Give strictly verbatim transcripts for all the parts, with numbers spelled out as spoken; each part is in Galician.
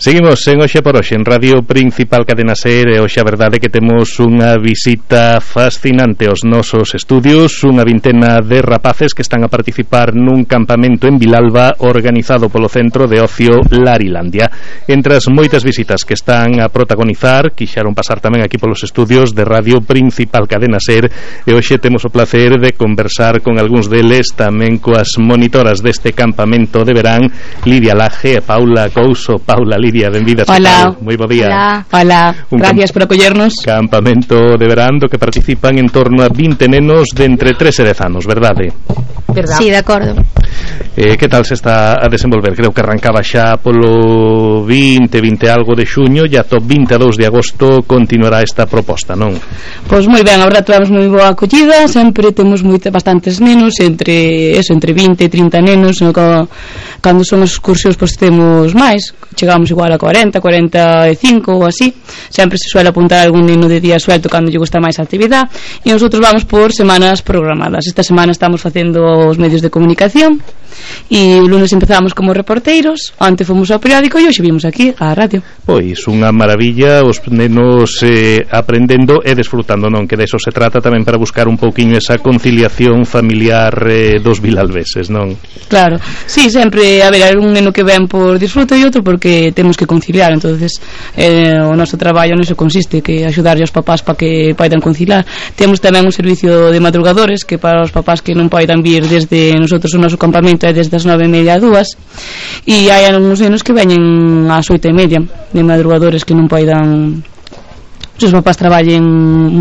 Seguimos en Oxe por Oxe en Radio Principal Cadena Ser e hoxe a verdade que temos unha visita fascinante aos nosos estudios, unha vintena de rapaces que están a participar nun campamento en Vilalba organizado polo Centro de Ocio Larilandia. Entre as moitas visitas que están a protagonizar, quixeron pasar tamén aquí polos estudios de Radio Principal Cadena Ser e hoxe temos o placer de conversar con algúns deles, tamén coas monitoras deste campamento de verán, Lidia Laje e Paula Couso. Paula, Lidia, benvidas. Hola. Moi bo día. Hola. Hola. Un Gracias por acollernos. Campamento de verán do que participan en torno a vinte nenos de entre tres e dez anos, verdade? Verdad. Sí, de acordo. Eh, que tal se está a desenvolver? Creo que arrancaba xa polo vinte, vinte algo de xuño e ata o vinte e dous de agosto continuará esta proposta, non? Pois moi ben, a verdade temos moi boa acollida, sempre temos moita, bastantes nenos, entre eso, entre vinte e trinta nenos, no, cando son as excursións pois temos máis, chegamos igual a cuarenta, cuarenta e cinco ou así, sempre se suele apuntar algún neno de día suelto cando lle gusta máis a actividade e nosotros vamos por semanas programadas. Esta semana estamos facendo os medios de comunicación e o lunes empezamos como reporteiros, antes fomos ao periódico e hoxe vimos aquí á radio. Pois unha maravilla, os nenos eh, aprendendo e desfrutando, non? Que de eso se trata tamén para buscar un pouquiño esa conciliación familiar eh, dos vilalveses, non? Claro, sí, sempre, a ver, hai un neno que ven por disfrute e outro porque temos que conciliar, entonces eh, o noso traballo neso consiste, que axudarlle aos papás para que poidan conciliar. Temos tamén un servicio de madrugadores que para os papás que non poidan vir desde nosotros o noso campamento é desde as nove e media a dúas e hai algúns nenos que veñen ás oito e media de madrugadores que non poidan, se os papás traballen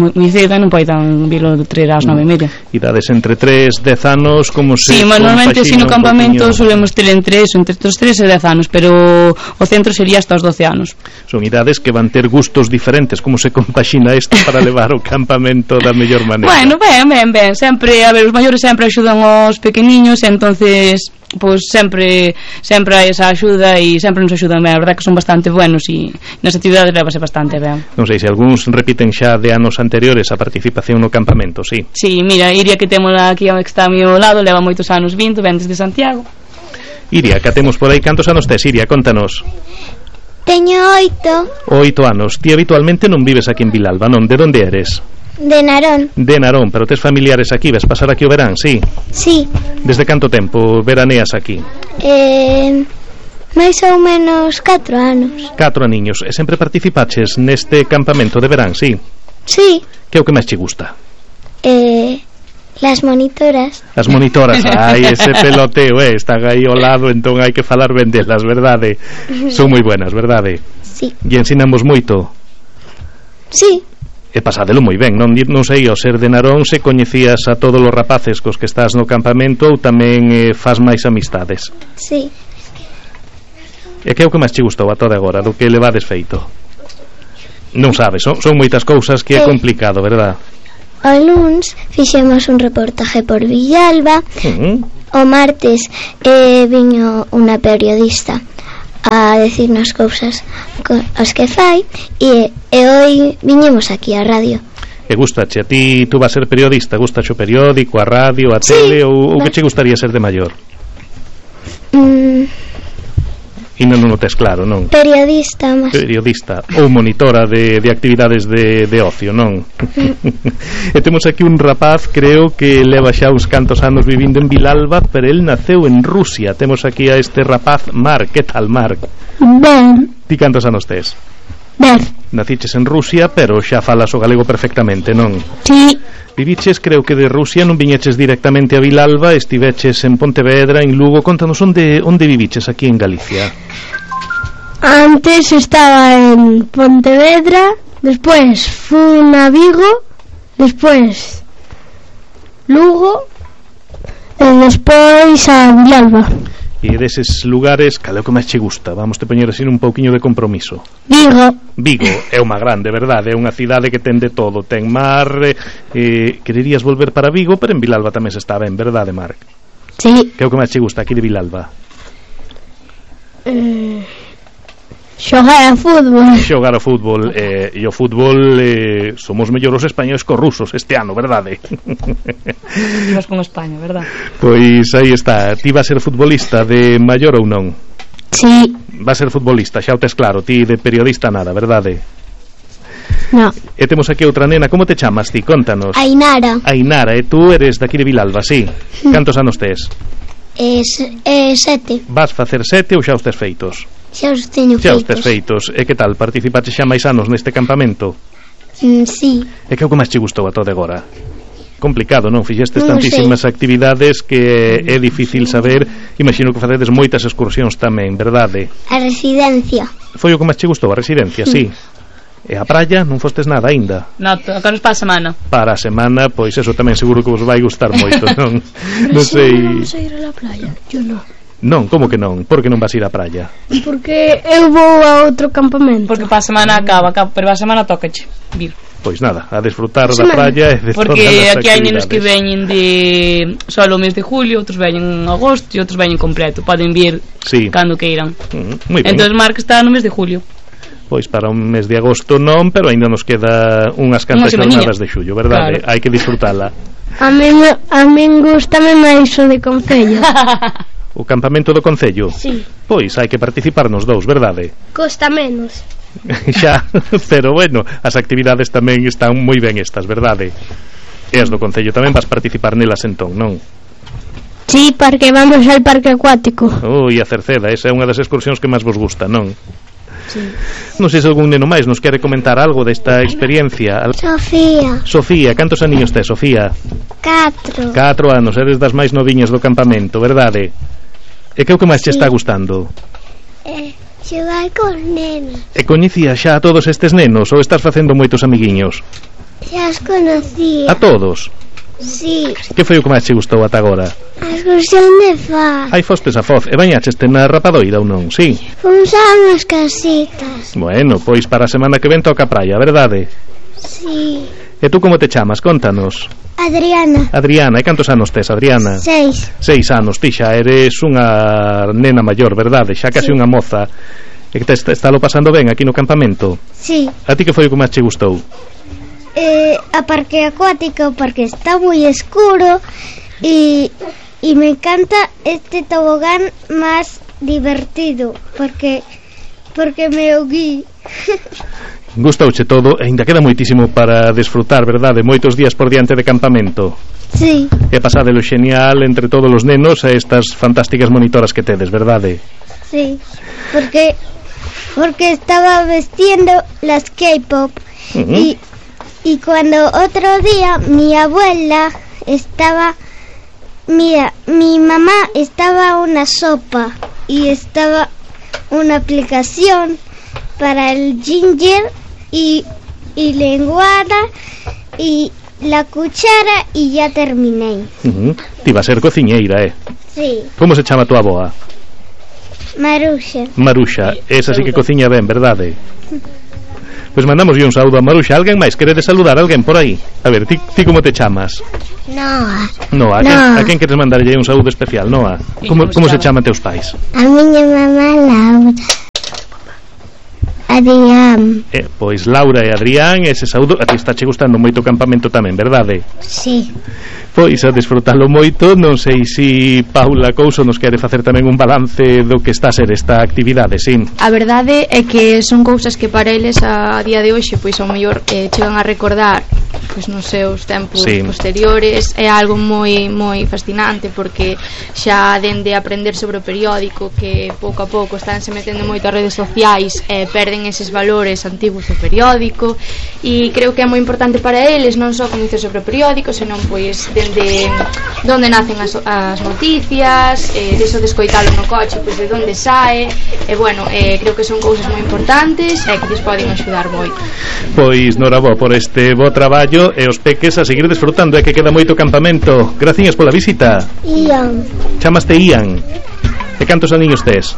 moi cedo non poidan vilo traer ás nove e media. Idades entre tres, dez anos, como se... Sí, normalmente si no campamento solemos ter entre eso, entre os tres e dez anos, pero o centro sería hasta os doce anos. Son idades que van ter gustos diferentes. Como se compaxina isto para levar o campamento da mellor maneira? Bueno, ben, ben, ben, sempre, a ver, os maiores sempre axudan aos pequeniños, entonces pois sempre sempre hai esa axuda e sempre nos axudan ben, a verdade que son bastante buenos e nas actividades levase bastante ben. Non sei se algúns repiten xa de anos anteriores a participación no campamento, sí. Sí, mira, Iria que temos aquí que está a meu lado, leva moitos anos vindo, ven desde Santiago. Iria, que temos por aí, cantos anos tes, Iria? Contanos. Teño oito. Oito anos. Ti habitualmente non vives aquí en Vilalba, non? De onde eres? De Narón. De Narón, pero tes familiares aquí, ves pasar aquí o verán, sí? Sí. Desde canto tempo veraneas aquí? Eh, máis ou menos catro anos. Catro aniños. E sempre participaches neste campamento de verán, sí? Sí. Que é o que máis che gusta? Eh, las monitoras. As monitoras, ai, ese peloteo, eh, están aí ao lado, entón hai que falar ben delas, verdade? Son moi buenas, verdade? Sí. E ensinamos moito? Sí. E pasádelo moi ben, non, non sei, ao ser de Narón se coñecías a todos os rapaces cos que estás no campamento ou tamén eh, faz máis amistades? Sí. E que é o que máis che gustou a toda agora, do que levades feito? Non sabes, son, son moitas cousas que é complicado, verdad? O luns fixemos un reportaje por Villalba. Uh-huh. O martes eh, viño unha periodista a decirnos cousas as que fai e, e hoy viñemos aquí a radio. E gustache, a ti tú vas ser periodista, gustache o periódico, a radio, a tele, sí, ou, ou que che gustaría ser de maior? Mm. E non, non o tes claro, non? Periodista, mas... Periodista ou monitora de, de actividades de, de ocio, non? E temos aquí un rapaz, creo que leva xa uns cantos anos vivindo en Vilalba, pero el naceu en Rusia. Temos aquí a este rapaz, Marc. Que tal, Marc? Ben. Ti cantos anos tes? Ben. Naciches en Rusia, pero xa falas o galego perfectamente, non? Sí. Viviches, creo que de Rusia, non viñeches directamente a Vilalba, estiveches en Pontevedra, en Lugo. Contanos, onde, onde viviches aquí en Galicia? Antes estaba en Pontevedra, despois fui a Vigo, despois Lugo e despois a Vilalba. E deses lugares, cal é o que máis che gusta? Vamos te poñer así un pouquiño de compromiso. Vigo. Vigo é unha grande, verdade? É unha cidade que ten de todo. Ten mar, eh, quererías volver para Vigo, pero en Vilalba tamén se está ben, verdade, Marc? Sí. Que é o que máis che gusta aquí de Vilalba? Eh, xogar a fútbol. Xogar a fútbol, eh, e o fútbol eh, somos mellor os españoles co rusos este ano, verdade? Imos con España, verdade? Pois aí está. Ti vas ser futbolista de maior ou non? Sí. Va a ser futbolista, xa o tes claro. Ti de periodista nada, verdade? No. E temos aquí outra nena. Como te chamas ti? Contanos. Ainara. Ainara, e tú eres daqui de Vilalba, sí? Cantos anos tes? É, é sete. Vas facer sete ou xa os tes feitos? Xa os teño Xa feitos. os tes feitos. E que tal? Participaste xa máis anos neste campamento? Mm, sí. E que é o que máis che gustou a todo agora? Complicado, non? Fixestes Non tantísimas actividades que é difícil saber. Imagino que facedes moitas excursións tamén, verdade? A residencia. Foi o que máis che gustou, a residencia, sí. E a praia non fostes nada aínda? No, tocanos para a semana. Para a semana, pois eso tamén seguro que vos vai gustar moito, non? Non sei. Vamos a ir a la playa. Yo no. Non, como que non? Por que non vas ir á praia? Porque eu vou a outro campamento. Porque para a semana acaba, acaba pero para a semana tócache vir. Pois nada, a desfrutar da praia e de Porque todas as aquí hai nenos que actividades. veñen de solo o mes de julio, outros veñen en agosto e outros veñen completo. Poden vir Sí. cando queiran. Mm, moi ben. Entón Marc está no mes de julio. Pois para un mes de agosto non, pero aínda nos queda unhas cantas Unha semaniña. jornadas de xullo, verdade? Claro. Hai que disfrutala. A min, a min gustame máis o de Concello. O campamento do Concello? Sí. Pois hai que participar nos dous, verdade? Costa menos. Xa, pero bueno, as actividades tamén están moi ben estas, verdade? E as do Concello tamén vas participar nelas entón, non? Sí, porque vamos al parque acuático. Ui, a Cerceda, esa é unha das excursións que máis vos gusta, non? Sí. Non sei se algún neno máis nos quere comentar algo desta experiencia. Sofía. Sofía, cantos aniños tes, Sofía? Catro. Catro anos, eres das máis noviñas do campamento, verdade? E que é o que máis che está gustando? Eh, xogar con nenos. E coñecías xa a todos estes nenos ou estás facendo moitos amiguiños? Xa os conocía. A todos? Sí. Que foi o que máis che gustou ata agora? A excursión de Faz. Ai, fostes a Foz e bañacheste na Rapadoira ou non? Sí. Fomos a unhas casitas. Bueno, pois para a semana que ven toca a praia, verdade? Sí. E tú como te chamas? Contanos. Adriana. Adriana, e cantos anos tes, Adriana? Seis. Seis anos, ti xa eres unha nena maior, verdade? Xa casi Sí. unha moza. E que te está lo pasando ben aquí no campamento? Sí. A ti que foi o que máis che gustou? Eh, a parque acuático porque está muy oscuro y, y me encanta este tobogán más divertido porque porque me ahogué. Gustouche todo e ainda queda moitísimo para desfrutar, verdade? Moitos días por diante de campamento. Sí, E pasadelo xenial entre todos os nenos e estas fantásticas monitoras que tedes, verdade? sí, porque porque estaba vestiendo las K-pop Uh-huh. y y cuando otro día mi abuela estaba, mira, mi mamá estaba una sopa y estaba una aplicación para el ginger y, y lenguada y la cuchara y ya terminé. Uh-huh. Ti va a ser cociñeira, eh? Sí, Como se chama tua aboa? Marusha. Maruxa, esa sí que cociña ben, verdade? Pois mandamos un saúdo a Maruxa. Alguén máis querede saludar? Alguén por aí? A ver, ti, ti como te chamas? Noa. Noa, a, Noa. quen, a quen queres mandarlle un saúdo especial, Noa? Como, como se chama teus pais? A miña mamá Laura. Adrián. Eh, pois Laura e Adrián, ese saúdo. A ti está che gustando moito o campamento tamén, verdade? Sí. Pois a desfrutalo moito. Non sei se Paula Couso nos quere facer tamén un balance do que está a ser esta actividade, sí. A verdade é que son cousas que para eles a día de hoxe pois ao mellor eh, chegan a recordar pois nos seus tempos Sí. posteriores. É algo moi moi fascinante porque xa dende aprender sobre o periódico que pouco a pouco estánse metendo moito as redes sociais e eh, perden eses valores antigos do periódico e creo que é moi importante para eles non só coñecer sobre o periódico senón pois dende donde nacen as, as noticias eh, deso de escoitalo no coche pois de onde sae e bueno, eh, creo que son cousas moi importantes e que lles poden axudar moito. Pois norabo por este bo traballo e os peques a seguir desfrutando, é que queda moito campamento. Graciñas pola visita. Ian. Chamaste Ian. E cantos aniños tes?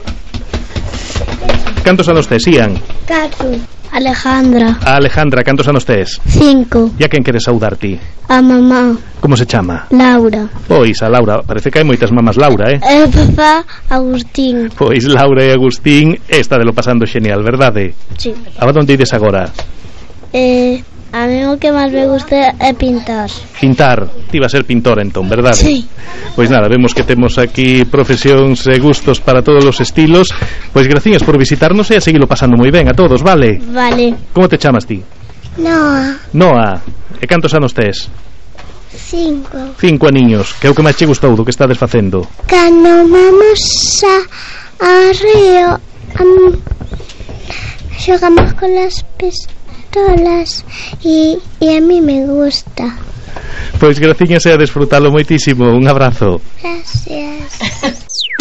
Cantos anos tes, Ian? Catro. Alejandra. A Alejandra, cantos anos tes? Cinco. E a quen queres saudar ti? A mamá Como se chama? Laura. Pois a Laura, parece que hai moitas mamás Laura, eh? E papá Agustín. Pois Laura e Agustín, esta de lo pasando xenial, verdade? Sí. A onde ides agora? Eh, A mí o que máis me gusta é pintar. Pintar, ti vas a ser pintor entón, verdade? Sí. Pois nada, vemos que temos aquí profesións e gustos para todos os estilos. Pois gracias por visitarnos e a seguilo pasando moi ben a todos, vale? Vale. Como te chamas ti? Noa, Noa. E cantos anos tes? cinco. Cinco aniños. Que é o que máis che gustou do que estades facendo? Cando vamos a, a río, um, xogamos con las pistolas e, e a mí me gusta. Pois graciñas e a desfrutalo moitísimo. Un abrazo. Gracias.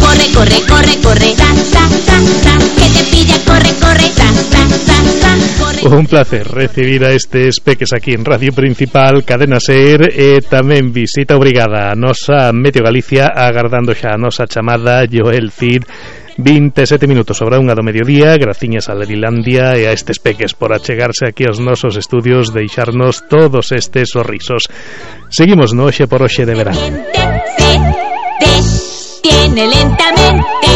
Corre, corre, corre, corre, ta, ta, ta, ta, que te pilla, corre, corre, ta, ta, ta, ta, corre. Un placer recibir a estes peques aquí en Radio Principal, Cadena Ser, e tamén visita obrigada a nosa Meteo Galicia, agardando xa a nosa chamada Joel Cid. veintesete minutos sobre a unha do mediodía. Graciñas a Lerilandia e a estes peques por achegarse aquí aos nosos estudios, deixarnos todos estes sorrisos. Seguimos no Oxe por Oxe de verán. Se detiene lentamente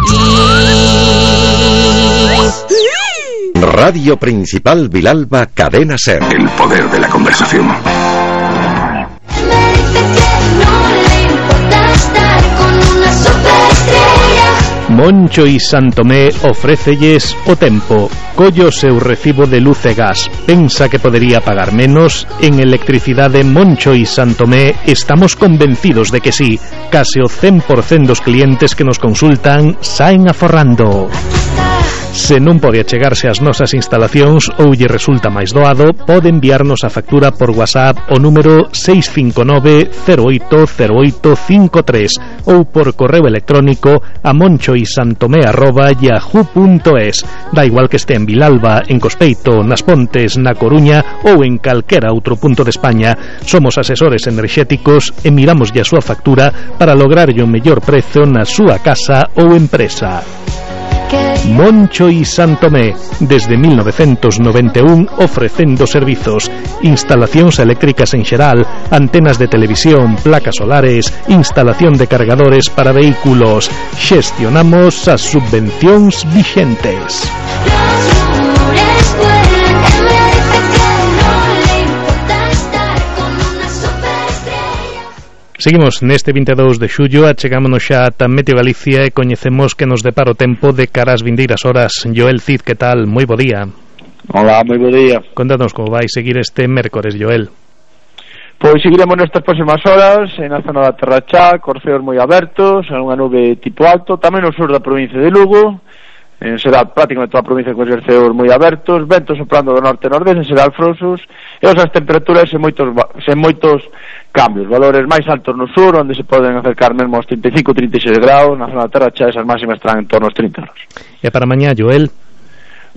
y... Radio Principal Vilalba, Cadena Ser. El poder de la conversación. Moncho y Santomé ofrécelles o tempo. Collo seu recibo de luz e gas. Pensa que podería pagar menos? En Electricidade Moncho y Santomé estamos convencidos de que sí. Case o cen por cento dos clientes que nos consultan saen aforrando. Se non pode achegarse ás nosas instalacións ou lle resulta máis doado, pode enviarnos a factura por WhatsApp o número seis cinco nove cero oito cero oito cinco tres ou por correo electrónico a monchoisantomé arroba yahoo punto es. Da igual que este en Vilalba, en Cospeito, nas Pontes, na Coruña ou en calquera outro punto de España. Somos asesores enerxéticos e miramos a súa factura para lograrlle o mellor prezo na súa casa ou empresa. Moncho y Santomé, desde mil novecentos noventa e un ofrecendo servizos, instalacións eléctricas en xeral, antenas de televisión, placas solares, instalación de cargadores para vehículos. Xestionamos as subvencións vixentes. Seguimos neste vinte e dous de xullo, achegámonos xa ata Meteo Galicia e coñecemos que nos depara o tempo de cara ás vindeiras horas. Joel Cid, que tal? Moi bo día. Hola, moi bo día. Contanos como vai seguir este mércores, Joel. Pois seguiremos nestas próximas horas en a zona da Terra Chá, corceos moi abertos, unha nube tipo alto, tamén no sur da provincia de Lugo, en xeral prácticamente toda a provincia con cerceos moi abertos, ventos soprando do norte e nordeste, en xeral frouxos, e as temperaturas en moitos, en moitos cambios, valores máis altos no sur, onde se poden acercar mesmo aos trinta e cinco a trinta e seis graus, na zona da Terra Chá esas máximas estarán en torno aos trinta graus. E para mañá, Joel?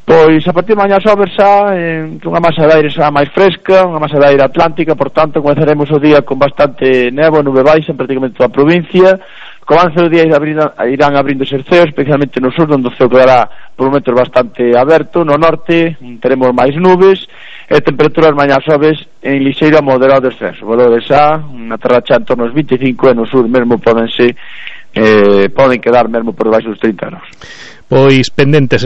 Pois a partir de mañá sobe xa en unha masa de aire xa máis fresca, unha masa de aire atlántica, por tanto comenzaremos o día con bastante nevo, nube baixa en prácticamente toda a provincia. Co avance do día irán abrindo cerceos, especialmente no sur, onde o ceo quedará por momentos bastante aberto. No norte teremos máis nubes e temperaturas mañá sobes en lixeiro a moderado descenso. Valores xa, na Terra Chá en torno aos vinte e cinco e no sur mesmo podense eh, poden quedar mesmo por debaixo dos trinta graus. Pois pendentes